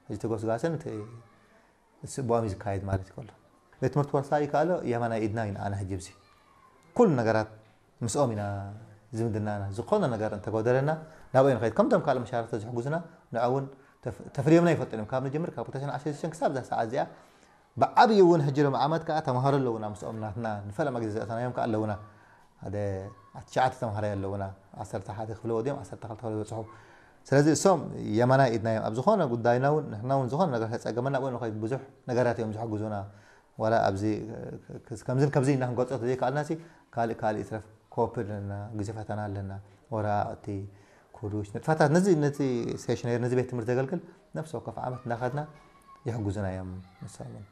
እዚ ተጎስጋስን እቲ ስቡኣም እዩ ዝካየድ ማለት ይከሎ። ቤት ትምህርቲ ወርሳ ይከኣሎ የማናይ ኢድና ኢና ኣነ ሕጂ ብዚ ኩሉ ነገራት ምስኦም ኢና ዝምድናና። ዝኾነ ነገር እንተጎደለና ናብኦም ንኸይድ። ከምቶም ካልእ መሻርክቲ ዝሕግዙና ንዕኡ እውን ተፍ- ተፍርዮምና ይፈልጡ እዮም። ካብ ንጅምር ካብ ክልተ ሽሕን ዓሰርተ ሽዱሽተ ክሳብ እዛ ሰዓት እዚኣ ብዓብዪ እውን ሕጂ ሎም ዓመት ከዓ ተምሃሮ ኣለውና። ምስኦም ናትና ንፈለማ ግዜ ዘእተናዮም ከዓ ኣለውና። ሓደ ትሽዓተ ተምሃራይ ኣለውና። ዓሰርተ ሓደ ክፍሊ ወዲኦም ዓሰርተ ክልተ ክፍሊ በፅሑ። ስለዚ እሶም የማናይ ኢድና እዮም ኣብ ዝኾነ ጉዳይና እውን። ንሕና እውን ዝኾነ ነገር ተፀገመና ኣብኡ ንኸይድ ብዙሕ ነገራት እዮም ዝሕግዙና። ዋላ ኣብዚ ከምዝን ከምዚ ኢና ክንገልፆ ተዘይከኣልና ሲ ካልእ ካልእ ይትረፍ ኮፕ ኣለና፣ ግዜ ፈተና ኣለና፣ ወረቃቅቲ፣ ኩዱሽ፣ ንጥፈታት ነዚ ነዚ ስቴሽነሪ ነዚ ቤት ትምህርቲ ዘገልግል ነፍሲ ወከፍ ዓመት እናኸድና ይሕግዙና እዮም። ንሶም እውን